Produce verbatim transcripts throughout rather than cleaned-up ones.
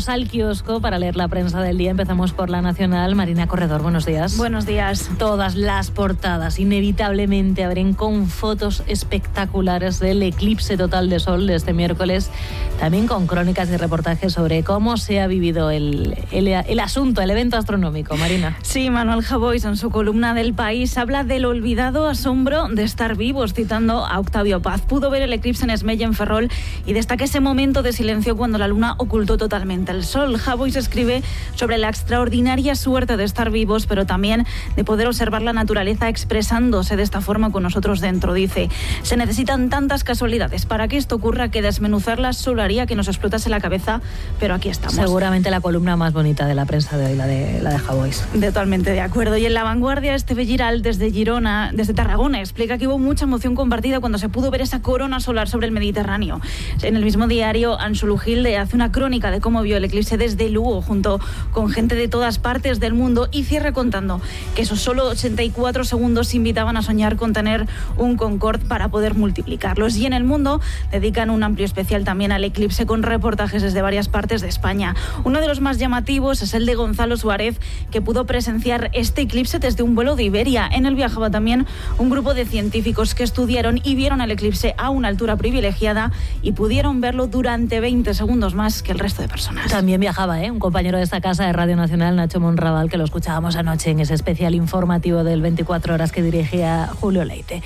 Vamos al kiosco para leer la prensa del día. Empezamos por La Nacional. Marina Corredor, buenos días. Buenos días. Todas las portadas inevitablemente abren con fotos espectaculares del eclipse total de sol de este miércoles, también con crónicas y reportajes sobre cómo se ha vivido el, el, el asunto, el evento astronómico. Marina. Sí, Manuel Javois en su columna del País habla del olvidado asombro de estar vivos, citando a Octavio Paz. Pudo ver el eclipse en Esmella, en Ferrol, y destaca ese momento de silencio cuando la luna ocultó totalmente el sol. Javois escribe sobre la extraordinaria suerte de estar vivos, pero también de poder observar la naturaleza expresándose de esta forma con nosotros dentro. Dice, se necesitan tantas casualidades para que esto ocurra que desmenuzarlas solo haría que nos explotase la cabeza, pero aquí estamos. Seguramente la columna más bonita de la prensa de hoy, la de, la de Javois. Totalmente de acuerdo. Y en La Vanguardia, Esteve Giral, desde Girona, desde Tarragona, explica que hubo mucha emoción compartida cuando se pudo ver esa corona solar sobre el Mediterráneo. En el mismo diario, Ansu Lugilde hace una crónica de cómo vio el eclipse desde Lugo, junto con gente de todas partes del mundo, y cierra contando que esos solo ochenta y cuatro segundos invitaban a soñar con tener un Concorde para poder multiplicarlos. Y en El Mundo dedican un amplio especial también al eclipse, con reportajes desde varias partes de España. Uno de los más llamativos es el de Gonzalo Suárez, que pudo presenciar este eclipse desde un vuelo de Iberia. En él viajaba también un grupo de científicos que estudiaron y vieron el eclipse a una altura privilegiada y pudieron verlo durante veinte segundos más que el resto de personas. También viajaba, ¿eh? un compañero de esta casa de Radio Nacional, Nacho Monraval, que lo escuchábamos anoche en ese especial informativo del veinticuatro horas que dirigía Julio Leite.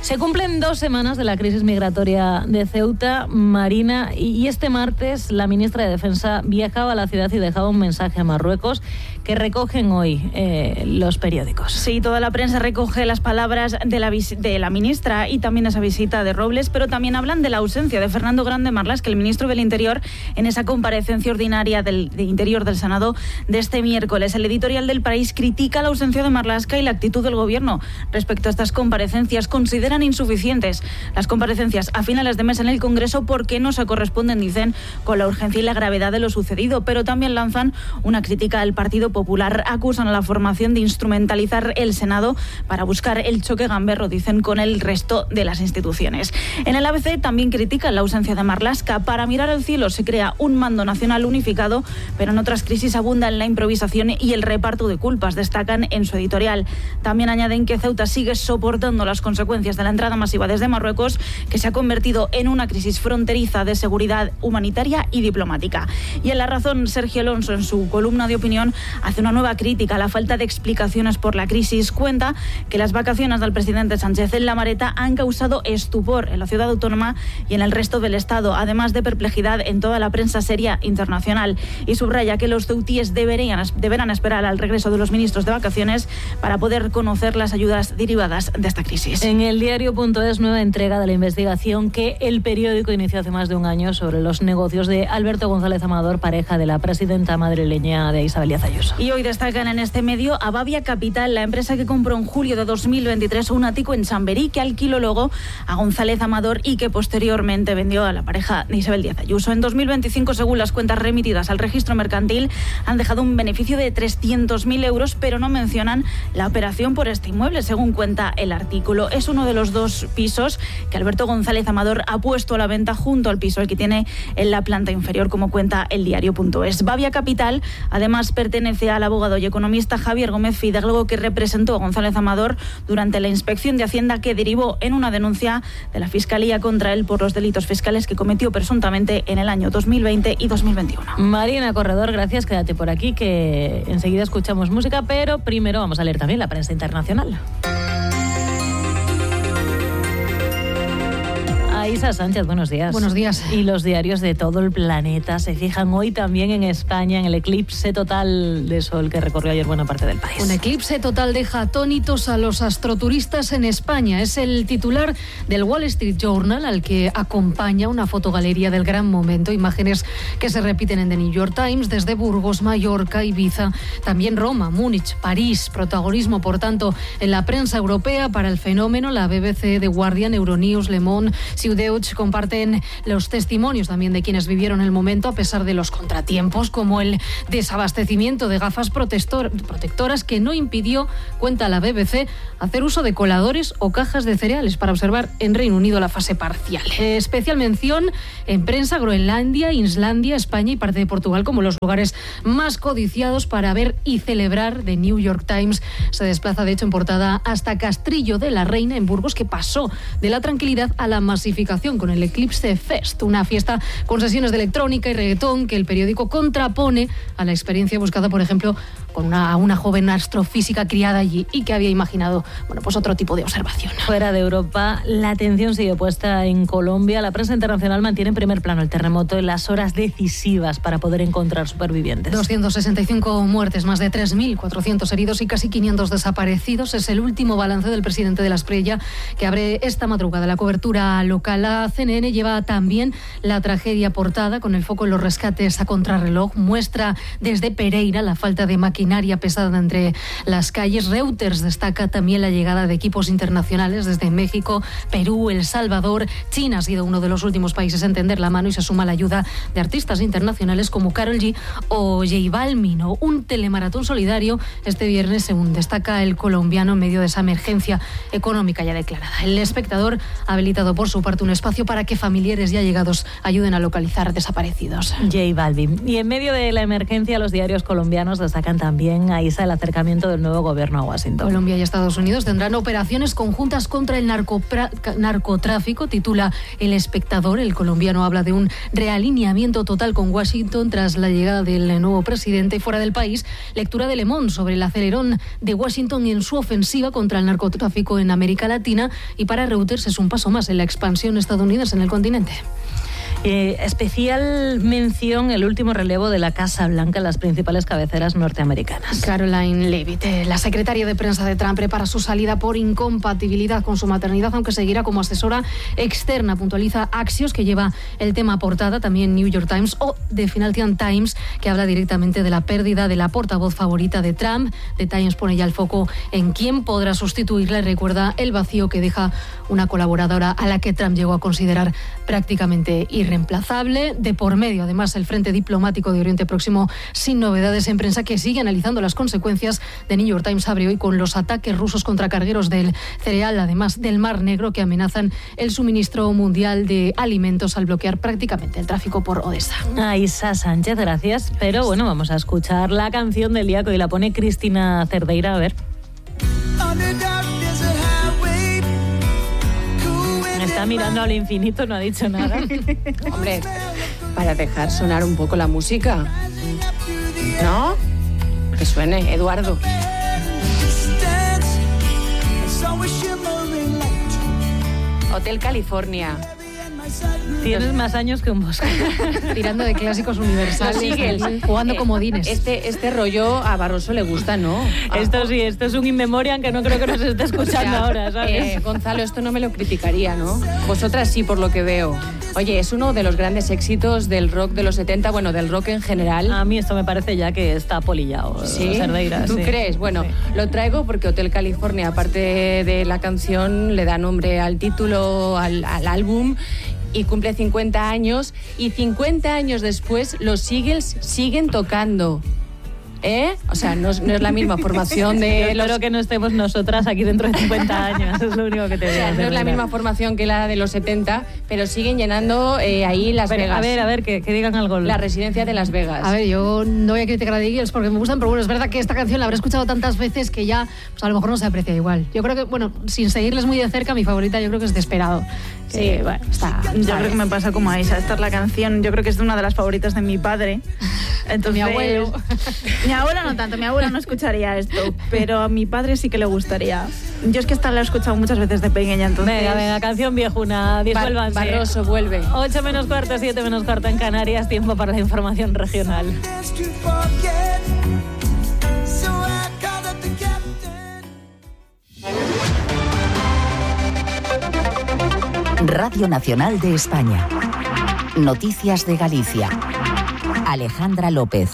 Se cumplen dos semanas de la crisis migratoria de Ceuta, Marina, y este martes la ministra de Defensa viajaba a la ciudad y dejaba un mensaje a Marruecos que recogen hoy eh, los periódicos. Sí, toda la prensa recoge las palabras de la, de la ministra y también esa visita de Robles, pero también hablan de la ausencia de Fernando Grande Marlaska, el ministro del Interior, en esa comparecencia ordinaria del de Interior del Senado de este miércoles. El editorial del País critica la ausencia de Marlaska y la actitud del Gobierno respecto a estas comparecencias. Consideran insuficientes las comparecencias a finales de mes en el Congreso porque no se corresponden, dicen, con la urgencia y la gravedad de lo sucedido, pero también lanzan una crítica al Partido Popular. Acusan a la formación de instrumentalizar el Senado para buscar el choque gamberro, dicen, con el resto de las instituciones. En el A B C también critican la ausencia de Marlaska. Para mirar al cielo se crea un mando nacional unificado, pero en otras crisis abundan la improvisación y el reparto de culpas, destacan en su editorial. También añaden que Ceuta sigue soportando las consecuencias de la entrada masiva desde Marruecos, que se ha convertido en una crisis fronteriza de seguridad humanitaria y diplomática. Y en La Razón, Sergio Alonso, en su columna de opinión, hace una nueva crítica a la falta de explicaciones por la crisis. Cuenta que las vacaciones del presidente Sánchez en La Mareta han causado estupor en la ciudad autónoma y en el resto del Estado, además de perplejidad en toda la prensa seria internacional. Y subraya que los ceutíes deberían, deberán esperar al regreso de los ministros de vacaciones para poder conocer las ayudas derivadas de esta crisis. En el diario.es, nueva entrega de la investigación que el periódico inició hace más de un año sobre los negocios de Alberto González Amador, pareja de la presidenta madrileña de Isabel Díaz Ayuso. Y hoy destacan en este medio a Bavia Capital, la empresa que compró en julio de dos mil veintitrés un ático en Chamberí, que alquiló luego a González Amador y que posteriormente vendió a la pareja de Isabel Díaz Ayuso. En dos mil veinticinco, según las cuentas remitidas al registro mercantil, han dejado un beneficio de trescientos mil euros, pero no mencionan la operación por este inmueble, según cuenta el artículo. Es uno de los dos pisos que Alberto González Amador ha puesto a la venta junto al piso el que tiene en la planta inferior, como cuenta el diario.es. Bavia Capital, además, pertenece al abogado y economista Javier Gómez Fidalgo, que representó a González Amador durante la inspección de Hacienda que derivó en una denuncia de la Fiscalía contra él por los delitos fiscales que cometió presuntamente en el año dos mil veinte y dos mil veintiuno. Marina Corredor, gracias. Quédate por aquí que enseguida escuchamos música, pero primero vamos a leer también la prensa internacional. Isa Sánchez, buenos días. Buenos días. Y los diarios de todo el planeta se fijan hoy también en España, en el eclipse total de sol que recorrió ayer buena parte del país. Un eclipse total deja atónitos a los astroturistas en España. Es el titular del Wall Street Journal, al que acompaña una fotogalería del gran momento, imágenes que se repiten en The New York Times, desde Burgos, Mallorca, Ibiza, también Roma, Múnich, París. Protagonismo, por tanto, en la prensa europea para el fenómeno, la B B C, The Guardian, Euronews, Le Monde, Ciudad Deutsch comparten los testimonios también de quienes vivieron el momento a pesar de los contratiempos, como el desabastecimiento de gafas protector, protectoras que no impidió, cuenta la B B C, hacer uso de coladores o cajas de cereales para observar en Reino Unido la fase parcial. Especial mención en prensa Groenlandia, Islandia, España y parte de Portugal como los lugares más codiciados para ver y celebrar. The New York Times se desplaza de hecho en portada hasta Castrillo de la Reina en Burgos, que pasó de la tranquilidad a la masificación con el Eclipse Fest, una fiesta con sesiones de electrónica y reggaetón que el periódico contrapone a la experiencia buscada, por ejemplo, con una, una joven astrofísica criada allí y que había imaginado, bueno, pues otro tipo de observación. Fuera de Europa, la atención sigue puesta en Colombia. La prensa internacional mantiene en primer plano el terremoto en las horas decisivas para poder encontrar supervivientes. doscientas sesenta y cinco muertes, más de tres mil cuatrocientos heridos y casi quinientos desaparecidos. Es el último balance del presidente de la Espriella, que abre esta madrugada la cobertura local. La C N N lleva también la tragedia portada con el foco en los rescates a contrarreloj. Muestra desde Pereira la falta de maquinaria pesada entre las calles. Reuters destaca también la llegada de equipos internacionales desde México, Perú, El Salvador. China ha sido uno de los últimos países en tender la mano y se suma la ayuda de artistas internacionales como Karol G o J Balvin. O un telemaratón solidario este viernes, según destaca el colombiano, en medio de esa emergencia económica ya declarada. El Espectador ha habilitado por su parte un espacio para que familiares y allegados ayuden a localizar desaparecidos. J Balvin. Y en medio de la emergencia, los diarios colombianos destacan también a Isa el acercamiento del nuevo gobierno a Washington. Colombia y Estados Unidos tendrán operaciones conjuntas contra el narcopra- narcotráfico, titula El Espectador. El colombiano habla de un realineamiento total con Washington tras la llegada del nuevo presidente. Fuera del país, lectura de Le Monde sobre el acelerón de Washington en su ofensiva contra el narcotráfico en América Latina, y para Reuters es un paso más en la expansión estadounidense en el continente. Eh, especial mención el último relevo de la Casa Blanca en las principales cabeceras norteamericanas. Caroline Leavitt, eh, la secretaria de prensa de Trump, prepara su salida por incompatibilidad con su maternidad, aunque seguirá como asesora externa. Puntualiza Axios, que lleva el tema a portada, también New York Times o The Financial Times, que habla directamente de la pérdida de la portavoz favorita de Trump. The Times pone ya el foco en quién podrá sustituirla y recuerda el vacío que deja una colaboradora a la que Trump llegó a considerar prácticamente irreemplazable. De por medio, además, el frente diplomático de Oriente Próximo sin novedades en prensa, que sigue analizando las consecuencias. The New York Times abre hoy con los ataques rusos contra cargueros del cereal, además del Mar Negro, que amenazan el suministro mundial de alimentos al bloquear prácticamente el tráfico por Odessa. A Isa Sánchez, gracias. Pero bueno, vamos a escuchar la canción del día que hoy la pone Cristina Cerdeira. A ver. Está mirando al infinito, no ha dicho nada. Hombre, para dejar sonar un poco la música, ¿no? Que suene, Eduardo. Hotel California. Tienes más años que un bosque. Tirando de clásicos universales, singles, jugando eh, comodines. Este, este rollo a Barroso le gusta, ¿no? Esto sí, esto es un in memoriam que no creo que nos esté escuchando Ya, ahora, ¿sabes? Eh, Gonzalo, esto no me lo criticaría, ¿no? Vosotras sí, por lo que veo. Oye, es uno de los grandes éxitos del rock de los setenta, bueno, del rock en general. A mí esto me parece ya que está polillado. ¿Sí? Cerdeira, ¿Tú sí. crees? Bueno, Sí. lo traigo porque Hotel California, aparte de la canción, le da nombre al título, al, al álbum, y cumple cincuenta años, y cincuenta años después los Eagles siguen tocando. ¿Eh? O sea, no es, no es la misma formación de Yo los... espero que no estemos nosotras aquí dentro de cincuenta años, es lo único que te O digo. sea, no es la misma formación que la de los setenta, pero siguen llenando eh, ahí Las Pero, Vegas. a ver, a ver, que, que digan algo. La residencia de Las Vegas. A ver, yo no voy a criticar a The Eagles porque me gustan, pero bueno, es verdad que esta canción la habré escuchado tantas veces que ya, pues a lo mejor no se aprecia igual. Yo creo que, bueno, sin seguirles muy de cerca, mi favorita yo creo que es Desperado. Sí, Eh, bueno, está. yo está creo que me pasa como a Isa. Esta es la canción, yo creo que es una de las favoritas de mi padre. Entonces, Mi abuelo. Mi abuelo no tanto, mi abuelo no escucharía esto, pero a mi padre sí que le gustaría. Yo es que esta la he escuchado muchas veces de pequeña, entonces... Venga, venga, canción viejuna, Bar- disuélvanse. Barroso vuelve. ocho menos cuarto, siete menos cuarto en Canarias, tiempo para la información regional. Radio Nacional de España. Noticias de Galicia. Alejandra López.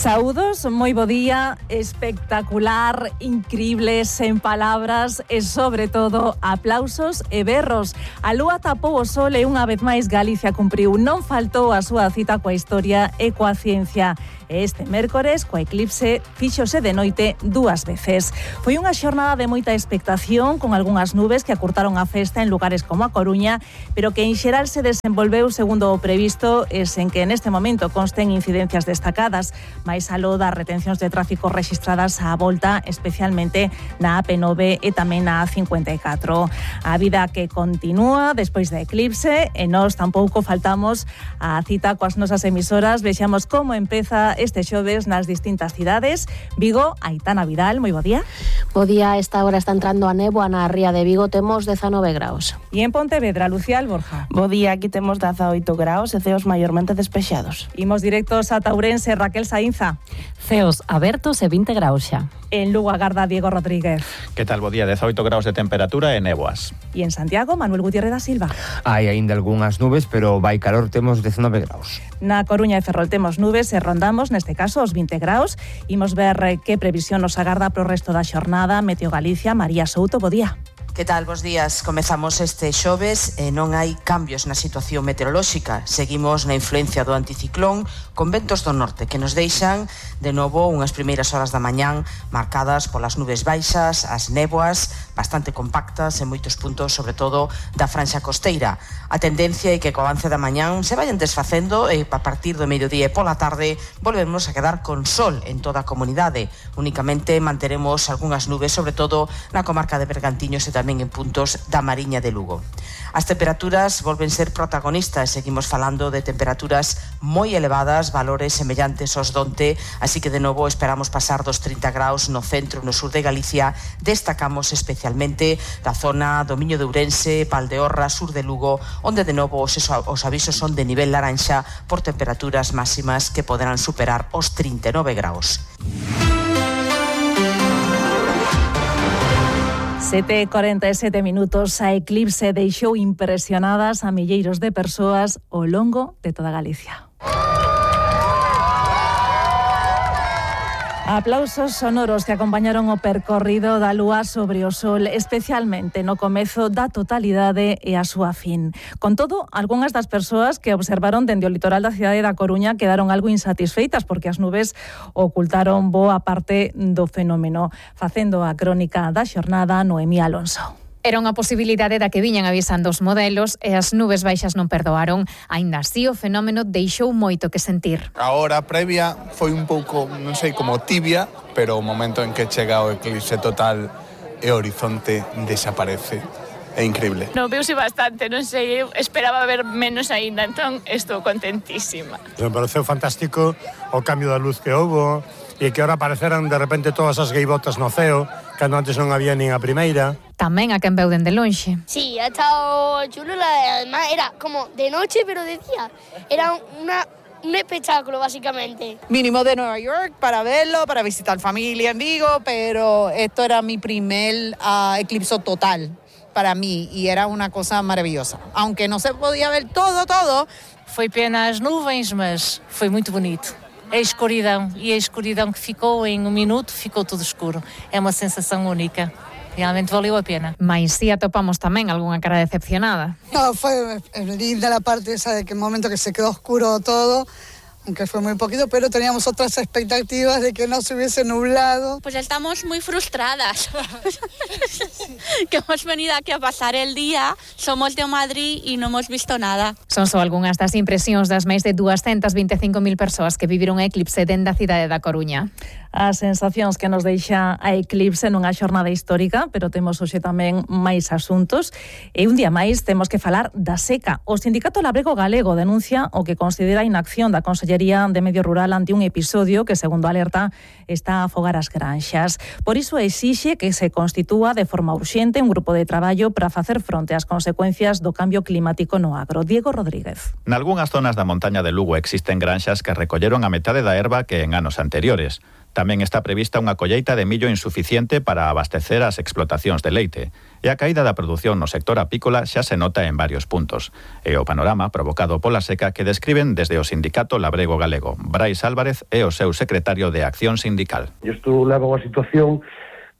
Saúdos, moi bo día, espectacular, increíble, sen palabras e, sobre todo, aplausos e berros. A lúa tapou o sol e unha vez máis Galicia cumpriu. Non faltou a súa cita coa historia e coa ciencia. E este mércores, coa eclipse, fíxose de noite dúas veces. Foi unha xornada de moita expectación, con algunhas nubes que acurtaron a festa en lugares como a Coruña, pero que en xeral se desenvolveu segundo o previsto e sen que neste momento consten incidencias destacadas, máis aló das retencións de tráfico rexistradas á volta, especialmente na A P nove e tamén na A cincuenta e catro. A vida que continúa despois da eclipse e nós tampouco faltamos a cita coas nosas emisoras. Vexamos como empeza este xoves nas distintas cidades. Vigo, Aitana Vidal, moi bo día. Bo día, a esta hora está entrando a néboa na ría de Vigo, temos dezanove graus. E en Pontevedra, Lucía Alborja. Bo día, aquí temos dezaoito graus e ceos maiormente despexados. Imos directos a Ourense, Raquel Saínza. Ceos abertos e vinte graus xa. En Lugo agarda Diego Rodríguez. Que tal, bo día, dezaoito graus de temperatura e néboas. E en Santiago, Manuel Gutiérrez da Silva. Hai aínda algunhas nubes, pero vai calor, temos dezanove graus. Na Coruña e Ferrol temos nubes e rondamos, neste caso, os vinte graus. Imos ver que previsión nos agarda pro resto da xornada. Meteo Galicia, María Souto, bo día. Que tal, bos días? Comezamos este xoves e non hai cambios na situación meteorolóxica. Seguimos na influencia do anticiclón con ventos do norte que nos deixan de novo unhas primeiras horas da mañán marcadas polas nubes baixas, as néboas bastante compactas en moitos puntos, sobre todo da franxa costeira. A tendencia é que co avance da mañán se vayan desfacendo e a partir do mediodía e pola tarde volvemos a quedar con sol en toda a comunidade. Únicamente manteremos algunhas nubes, sobre todo na comarca de Bergantiños e tamén en puntos da Mariña de Lugo. As temperaturas volven ser protagonistas, seguimos falando de temperaturas moi elevadas, valores semellantes aos donte, así que de novo esperamos pasar dos trinta graus no centro e no sur de Galicia. Destacamos especialmente da zona do Miño de Ourense, Valdeorra, sur de Lugo, onde de novo os, os avisos son de nivel laranxa por temperaturas máximas que poderán superar os trinta e nove graus. sete e corenta e sete minutos, a eclipse deixou impresionadas a milleiros de persoas ao longo de toda Galicia. Aplausos sonoros que acompañaron o percorrido da lúa sobre o sol, especialmente no comezo da totalidade e a súa fin. Con todo, algunhas das persoas que observaron dende o litoral da cidade da Coruña quedaron algo insatisfeitas porque as nubes ocultaron boa parte do fenómeno. Facendo a crónica da xornada, Noemí Alonso. Era unha posibilidade da que viñan avisando os modelos e as nubes baixas non perdoaron. Aínda así, o fenómeno deixou moito que sentir. A hora previa foi un pouco, non sei, como tibia, pero o momento en que chega o eclipse total e o horizonte desaparece. É increíble. No, veuse bastante, non sei, eu esperaba ver menos aínda, entón estou contentísima. Me pareceu fantástico o cambio da luz que houbo e que ahora apareceran de repente todas as gaivotas no ceo, cando antes non había nin a primeira. Tamén a quen veu dende lonxe. Sí, ha estado chulo, además era como de noche pero de día. Era una, un espectáculo básicamente. Mínimo de Nueva York para verlo, para visitar familia en Vigo, pero esto era mi primer uh, eclipse total para mí y era una cosa maravillosa. Aunque no se podía ver todo, todo. Foi pena as nuvens, mas foi muito bonito. A escuridão, e a escuridão que ficou em um minuto, ficou tudo escuro. É uma sensação única. Realmente valeu a pena. Mais si atopamos tamén algunha cara decepcionada. No, fue linda la parte esa de que el momento que se quedó oscuro todo, aunque fue muy poquito, pero teníamos otras expectativas de que no se hubiese nublado. Pues estamos muy frustradas, que hemos venido aquí a pasar el día, somos de Madrid y no hemos visto nada. Son só algunhas das impresións das máis de doscientas vinte e cinco mil persoas que viviron a eclipse dende a cidade da Coruña. As sensacións que nos deixa a eclipse nunha xornada histórica, pero temos hoxe tamén máis asuntos. E un día máis temos que falar da seca. O Sindicato Labrego Galego denuncia o que considera inacción da Consellería de Medio Rural ante un episodio que, segundo alerta, está a afogar as granxas. Por iso exixe que se constitúa de forma urxente un grupo de traballo para facer fronte ás consecuencias do cambio climático no agro. Diego Rodríguez. Nalgúnas zonas da montaña de Lugo existen granxas que recolleron a metade da herba que en anos anteriores. Tamén está prevista unha colleita de millo insuficiente para abastecer as explotacións de leite. E a caída da produción no sector apícola xa se nota en varios puntos. E o panorama provocado pola seca que describen desde o sindicato labrego galego. Brais Álvarez é o seu secretario de Acción Sindical. Isto leva a unha situación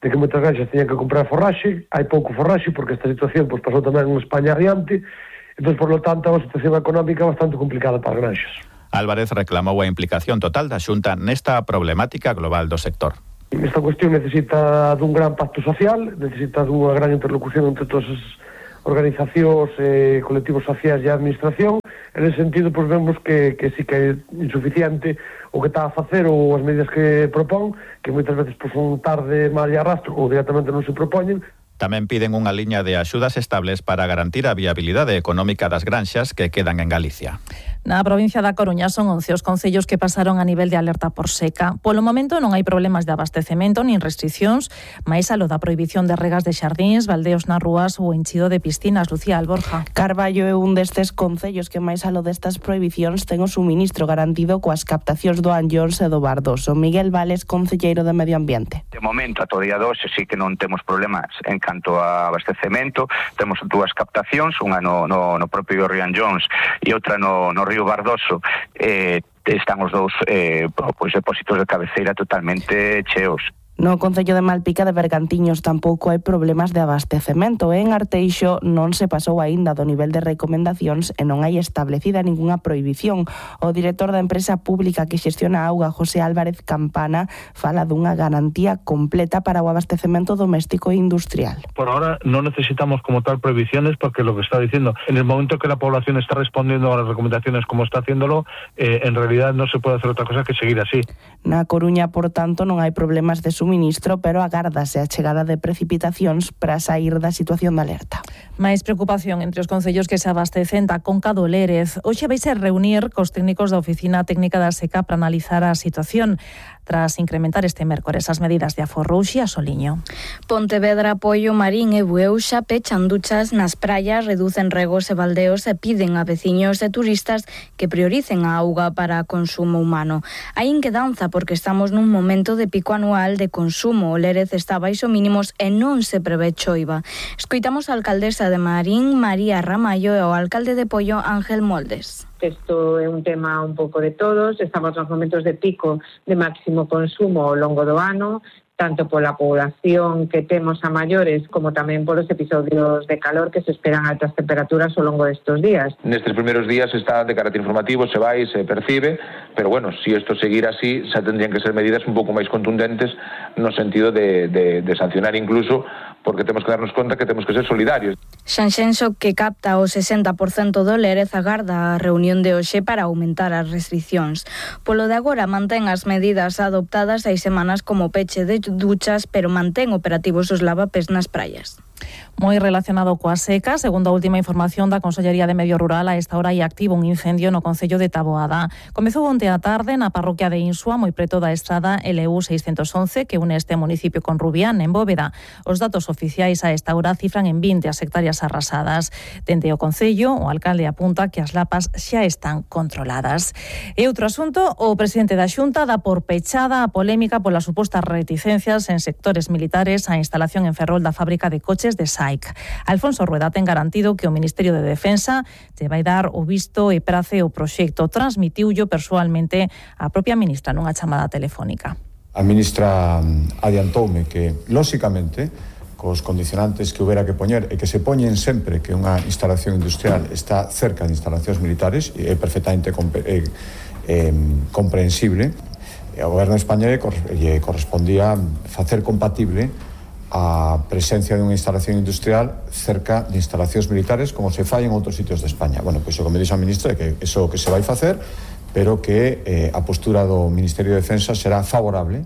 de que moitas granxas teñen que comprar forraxe, hai pouco forraxe porque esta situación pois, pasou tamén en España adiante, entón, por lo tanto, é unha situación económica bastante complicada para as granxas. Álvarez reclamou a implicación total da Xunta nesta problemática global do sector. Esta cuestión necesita dun gran pacto social, necesita dunha gran interlocución entre todas as organizacións, eh, colectivos sociais e a administración. En ese sentido, pois vemos que, que sí que é insuficiente o que está a facer ou as medidas que propón, que moitas veces pois, son tarde, mal e arrastro ou directamente non se propoñen. Tamén piden unha liña de axudas estables para garantir a viabilidade económica das granxas que quedan en Galicia. Na provincia da Coruña son once os concellos que pasaron a nivel de alerta por seca. Polo momento non hai problemas de abastecemento nin restriccións, máis a lo da prohibición de regas de xardíns, baldeos nas rúas ou enchido de piscinas. Lucía Alborja. Carballo é un destes concellos que máis a lo destas prohibicións ten o suministro garantido coas captacións do Anllóns e do Bardoso. Miguel Vales, concelleiro de Medio Ambiente. De momento, a todo día doce, sí que non temos problemas en canto a abastecemento. Temos dúas captacións, unha no, no, no propio río Anllóns e outra no, no río Bardoso. Eh, están os dous eh, pois, depósitos de cabeceira totalmente cheos. No concello de Malpica de Bergantiños tampouco hai problemas de abastecemento. En Arteixo non se pasou aínda do nivel de recomendacións e non hai establecida ningunha prohibición. O director da empresa pública que xestiona a auga, José Álvarez Campana, fala dunha garantía completa para o abastecemento doméstico e industrial. Por ahora no necesitamos como tal prohibiciones porque lo que está diciendo, en el momento que la población está respondiendo a las recomendaciones como está haciéndolo, eh, en realidad no se puede hacer otra cosa que seguir así. Na Coruña, por tanto, non hai problemas de suministro, pero agárdase a chegada de precipitacións para sair da situación de alerta. Máis preocupación entre os concellos que se abastecen da Conca do Lérez. Hoxe vais a reunir cos técnicos da Oficina Técnica da Seca para analizar a situación tras incrementar este mércores as medidas de aforro. Uxía Soliño. Pontevedra, Poio, Marín e Bueuxa pechan duchas nas praias, reducen regos e baldeos e piden a veciños e turistas que prioricen a auga para consumo humano. Hai inquedanza porque estamos nun momento de pico anual de consumo. O Lérez está baixo mínimos e non se prevé choiva. Escoitamos a alcaldesa de Marín, María Ramallo, e o alcalde de Poio, Ángel Moldes. Isto é un tema un pouco de todos, estamos nos momentos de pico de máximo consumo ao longo do ano, tanto pola población que temos a maiores como tamén polos episodios de calor que se esperan altas temperaturas ao longo destes días. Nestes primeiros días está de carácter informativo, se vai, se percibe, pero bueno, si isto seguir así, xa tendrían que ser medidas un pouco máis contundentes no sentido de, de, de sancionar incluso, porque temos que darnos conta que temos que ser solidarios. Xanxenxo, que capta o sesenta por cento do Lérez, agarda a reunión de hoxe para aumentar as restriccións. Polo de agora mantén as medidas adoptadas hai semanas como peche de duchas, pero mantén operativos os lavapés nas praias. Moi relacionado coa seca, segundo a última información da Consellería de Medio Rural, a esta hora hai activo un incendio no concello de Taboada. Comezou onte á tarde na parroquia de Insua, moi preto da estrada L U seiscentos once, que une este municipio con Rubián, en Bóveda. Os datos oficiais a esta hora cifran en vinte as hectáreas arrasadas. Dende o concello, o alcalde apunta que as lapas xa están controladas. E outro asunto, o presidente da Xunta dá por pechada a polémica polas supostas reticencias en sectores militares á instalación en Ferrol da fábrica de coches de S A I C. Alfonso Rueda ten garantido que o Ministerio de Defensa lle vai dar o visto e prace o proxecto. Transmitiullo persoalmente a propia ministra nunha chamada telefónica. A ministra adiantoume que, lóxicamente, cos condicionantes que houbera que poñer e que se poñen sempre que unha instalación industrial está cerca de instalacións militares e é perfectamente compre, eh, eh, comprensible, e ao goberno español lle correspondía facer compatible a presencia de unha instalación industrial cerca de instalacións militares como se fai en outros sitios de España. Bueno, pois o que me dixo a ministra é que iso que se vai facer, pero que eh, a postura do Ministerio de Defensa será favorable,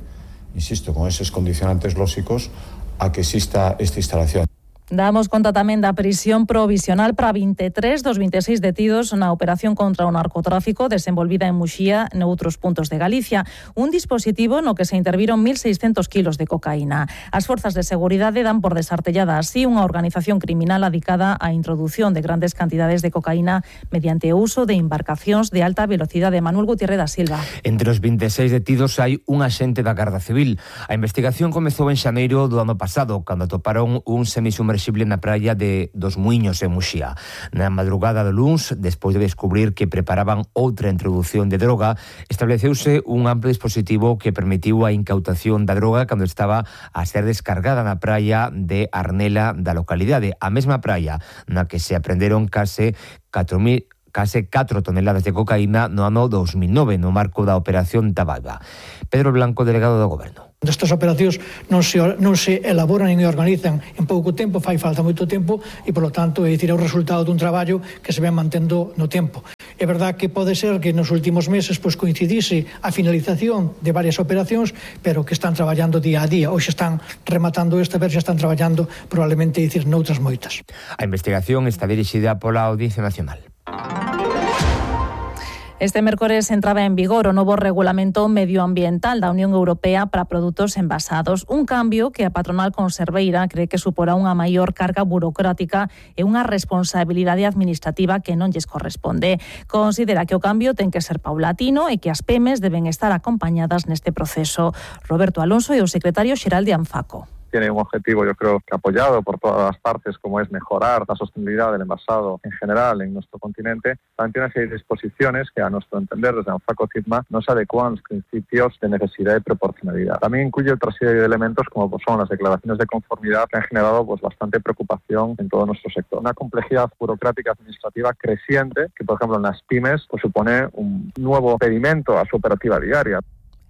insisto, con eses condicionantes lóxicos, a que exista esta instalación. Damos conta tamén da prisión provisional para vinte e tres dos vinte e seis detidos na operación contra o narcotráfico desenvolvida en Muxía e noutros puntos de Galicia. Un dispositivo no que se interviron mil seiscentos kilos de cocaína. As forzas de seguridade dan por desartellada así unha organización criminal adicada á introdución de grandes cantidades de cocaína mediante o uso de embarcacións de alta velocidade. Manuel Gutiérrez da Silva. Entre os vinte e seis detidos hai un axente da Garda Civil. A investigación comezou en xaneiro do ano pasado, cando atoparon un semisubmersible na praia de dos Muiños en Muxía. Na madrugada do luns, despois de descubrir que preparaban outra introdución de droga, estableceuse un amplo dispositivo que permitiu a incautación da droga cando estaba a ser descargada na praia de Arnela da localidade, a mesma praia na que se aprenderon case catro mil case catro toneladas de cocaína no ano dos mil nove, no marco da Operación Tabaiba. Pedro Blanco, delegado do Goberno. Estas operacións non se, non se elaboran e organizan en pouco tempo, fai falta moito tempo e, polo tanto, é dicir, é o resultado dun traballo que se ven mantendo no tempo. É verdad que pode ser que nos últimos meses pois, coincidise a finalización de varias operacións, pero que están traballando día a día. Hoxe están rematando esta, ver se están traballando probablemente, dicir, noutras moitas. A investigación está dirixida pola Audiencia Nacional. Este mércores entraba en vigor o novo regulamento medioambiental da Unión Europea para produtos envasados, un cambio que a patronal conserveira cree que suporá unha maior carga burocrática e unha responsabilidade administrativa que non lles corresponde. Considera que o cambio ten que ser paulatino e que as pymes deben estar acompañadas neste proceso. Roberto Alonso é o secretario xeral de ANFACO. Tiene un objetivo, yo creo, que apoyado por todas las partes, como es mejorar la sostenibilidad del envasado en general en nuestro continente. También tiene una serie de disposiciones que, a nuestro entender, desde ANFACO-CITMA, no se adecuan a los principios de necesidad y proporcionalidad. También incluye otra serie de elementos, como pues, son las declaraciones de conformidad, que han generado pues, bastante preocupación en todo nuestro sector. Una complejidad burocrática administrativa creciente, que, por ejemplo, en las pymes, pues, supone un nuevo impedimento a su operativa diaria.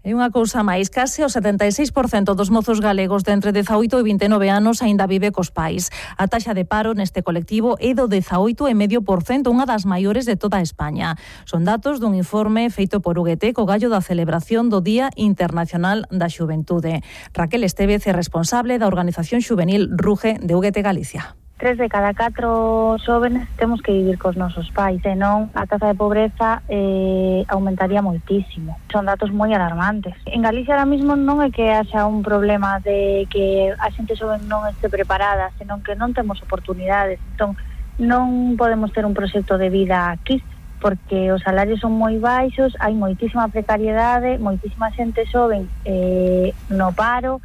E unha cousa máis, case o setenta e seis por cento dos mozos galegos de entre dezaoito e vinte e nove anos aínda vive cos pais. A taxa de paro neste colectivo é do dezaoito vírgula cinco por cento, unha das maiores de toda España. Son datos dun informe feito por U G T co gallo da celebración do Día Internacional da Xuventude. Raquel Estevez é responsable da organización xuvenil Ruge de U G T Galicia. Tres de cada catro xóvenes temos que vivir cos nosos pais, senón a taxa de pobreza eh, aumentaría moitísimo. Son datos moi alarmantes. En Galicia ahora mismo non é que haxa un problema de que a xente xoven non este preparada, senón que non temos oportunidades. Entón, non podemos ter un proxecto de vida aquí, porque os salarios son moi baixos, hai moitísima precariedade, moitísima xente xoven eh, no paro.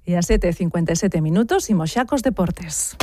E a sete e cincuenta e sete minutos, imos xa cos deportes.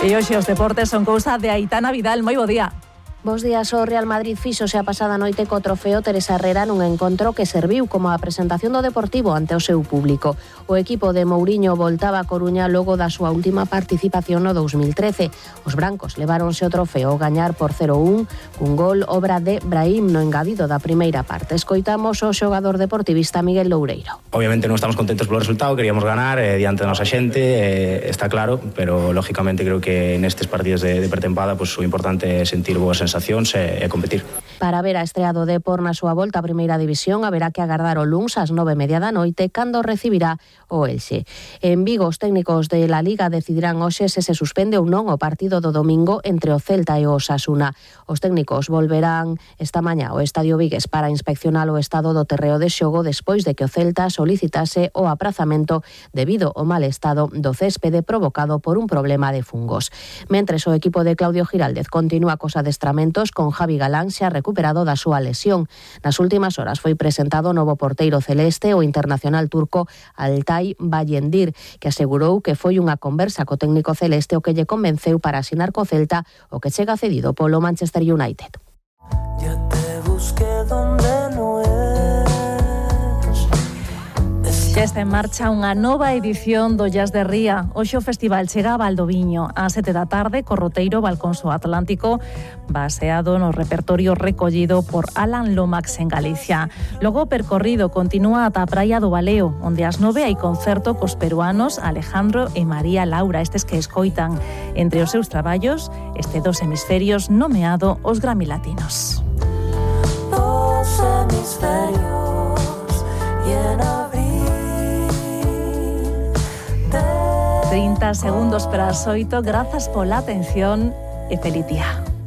E hoxe os deportes son cousa de Aitana Vidal. Moi bo día. Bos días, o Real Madrid fíxose a pasada noite co trofeo Teresa Herrera nun encontro que serviu como a presentación do Deportivo ante o seu público. O equipo de Mourinho voltaba a Coruña logo da súa última participación no dous mil trece. Os brancos leváronse o trofeo ao gañar por cero un, cun gol obra de Brahim no engadido da primeira parte. Escoitamos o xogador deportivista Miguel Loureiro. Obviamente non estamos contentos polo resultado, queríamos ganar eh, diante da nosa xente, eh, está claro, pero lógicamente creo que nestes partidos de, de pretempada pues, o importante é sentir boas sensacións e competir. Para ver a estrea do Depor na súa volta a Primeira División haberá que agardar o luns ás nove e media da noite cando recibirá o Elxe. En Vigo, os técnicos de la Liga decidirán hoxe se se suspende ou non o partido do domingo entre o Celta e o Osasuna. Os técnicos volverán esta mañá ao Estadio Vigues para inspeccionar o estado do terreo de xogo despois de que o Celta solicitase o aprazamento debido ao mal estado do céspede provocado por un problema de fungos. Mentres o equipo de Claudio Giraldez continúa cos adestramentos con Javi Galán xa recuperado da súa lesión. Nas últimas horas foi presentado o novo porteiro celeste, o internacional turco Altay Bayendir, que asegurou que foi unha conversa co técnico celeste o que lle convenceu para asinar co Celta o que chega cedido polo Manchester United. Ya te busqué donde no es. Xa está en marcha unha nova edición do Jazz de Ría. Hoxe o festival chega a Valdoviño a sete da tarde co roteiro Balconso Atlántico, baseado no repertorio recollido por Alan Lomax en Galicia. Logo o percorrido continúa ata a Praia do Baleo, onde ás nove hai concerto cos peruanos Alejandro e María Laura, estes que escoitan entre os seus traballos este dos hemisferios nomeado os Grammy Latinos. Dos hemisferios y en abril trinta segundos para as oito. Grazas pola atención e feliz día.